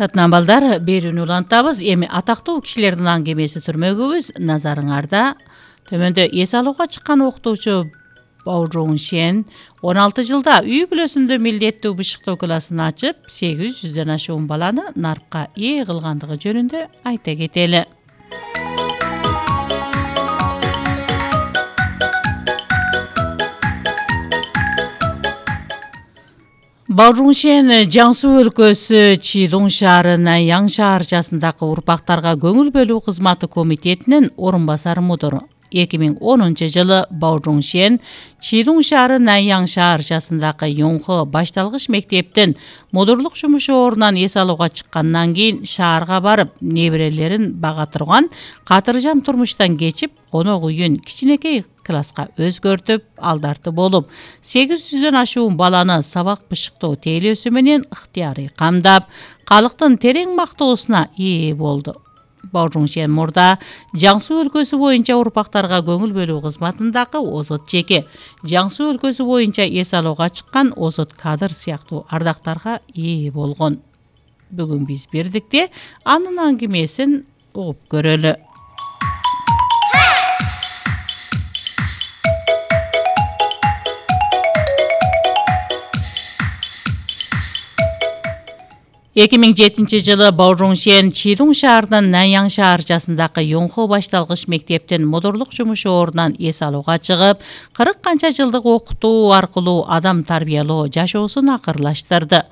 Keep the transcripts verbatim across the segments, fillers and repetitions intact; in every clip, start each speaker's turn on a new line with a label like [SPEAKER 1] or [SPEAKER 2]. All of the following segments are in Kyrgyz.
[SPEAKER 1] Татынан балдар, берүүнү улантабыз. Эми атактуу кишилердин аңгемеси түрмөгүбүз. Назарыңарда төмөндө эс алууга чыккан окутуучу Бао Жуңшен он алты жылда үй бүлөсүндө милдеттүү бышыктоо классын ачып, сегиз жүздөн ашуун баланы нарпка ээ кылгандыгы жөнүндө айта кетели. Бао Жуңшен Жаңсу өлкөсү Чидун шаары Наньян шаарчасындагы урпактарга көңүл бөлүү кызматы комитетинин орун басары мудуру. эки миң онунчу жылы Бао Жуңшен Чидун шаары Наньян шаарчасындагы Юнхо башталгыч мектептин мудурлук жумушу орунан эс алууга чыккандан кийин шаарга барып, неберелерин бага турган катыржам турмуштан кечип, конок үйүн кичинекей класска өзгөртүп, алдарты болуп, сегиз жүздөн ашуун баланы сабак бышыктоо тейлөөсү менен ыктыярый камдап, калктын терең мактоосуна ээ болду. Бао Жуңшен мурда Жаңсу өлкөсү боюнча урпактарга көңүл бөлүү кызматындагы озот жеке, Жаңсу өлкөсү боюнча эс алууга чыккан озот кадыр сыяктуу ардактарга ээ болгон. Бүгүн биз бирдикте анын аңгемесин угуп көрөлү. эки миң жетинчи жылы Бао Жуңшен Чидун шаарынын Наньян шаарчасындагы Юнхо башталгыч мектептин мудурлук жумушу орунан эс алууга чыгып, кырк канча жылдык окутуу аркылуу адам тарбиялоо жашоосун акырлаштырды.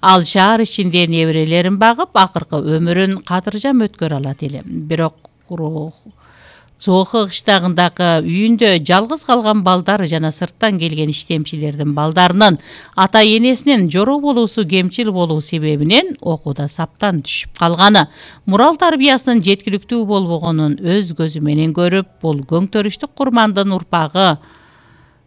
[SPEAKER 1] Ал шаар ичинде неберелерин багып, акыркы өмүрүн катыржам өткөрө алат эле. Бирок Цохо кыштагындагы үйүндө жалгыз калган балдар жана сырттан келген иштемчилердин балдарынын ата энесинин жороо болуусу кемчил болуу себебинен окууда саптан түшүп калганы, мурал тарбиясынын жеткиликтүү болбогонун өз көзү менен көрүп, бул көңтөрүштүк курмандын урпагы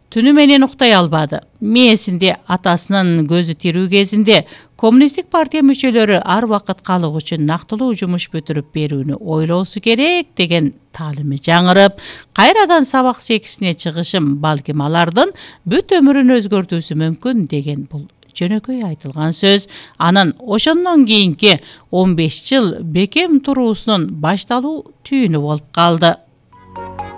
[SPEAKER 1] түнү менен уктай албады. Мээсинде атасынын көзү тирүү кезинде Коммунисттик партия мүчөлөрү ар убакыт калык үчүн нактылуу жумуш бүтүрүп берүүнү ойлоосу керек деген таалими жаңырып, кайрадан сабак секисине чыгышым балким алардын бүт өмүрүн өзгөртүүсү мүмкүн деген бул жөнөкөй айтылган сөз анын ошондон кийинки он беш жыл бекем туруусунун башталуу түйүнү болуп калды.